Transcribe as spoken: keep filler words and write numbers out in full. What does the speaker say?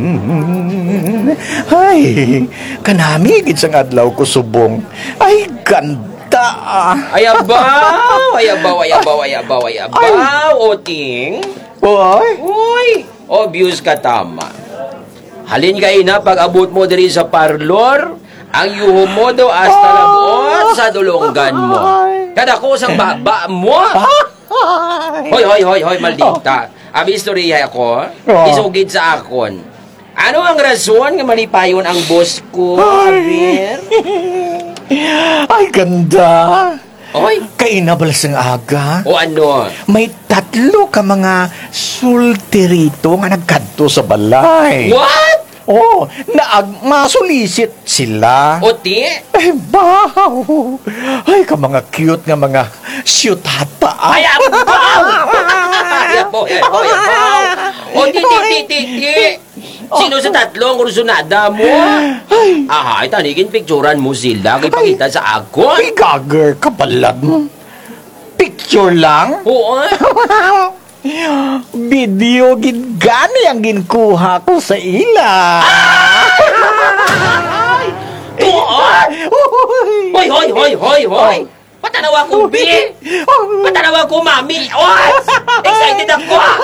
Mm. Ay, kanami gid sang adlaw ko subong. Ay, ganda. Ay, abaw! Ay, abaw, ay, abaw, ay, abaw, ay, abaw, Oting. Oy. Uy, obvious ka tama. Halin ka ina, pag-abot mo diri sa parlor, ang yuho mo do hasta Ah. labot sa dulonggan mo. Ay. Kadako sang baba mo. Ay. Hoy, hoy, hoy, hoy, maldita. Abi istorya ako, Oh. isugid sa akon. Ano ang rason nga malipayon ang boss ko, Ay. Aber? Ay, ganda. Oy. Kaina bala sang aga. O ano? May tatlo ka mga sultirito nga nagkadto sa balay. What? Oh, naag masulisit sila. O ti? Ay, wow! Ay, ka mga cute nga mga siyutata. Ay, abaw! Ay, abaw, ay, abaw, ay, abaw! O, di, di, di, di, di. Sino sa tatlo ang kursunada mo? Ay. Aha, ay, tanigin picturan mo sila. Kay Ay. pakita sa ako. Ay, gager ka, balad mo. Picture lang? Oo. Video gid gani ang ginkuha ko sa ila. Ay! Tuod! Uy! Hoy, hoy, hoy, hoy, hoy! Oh. Patanawa ko, bi! Oh. Patanawa ko, mami! Oh! Excited ako, ah!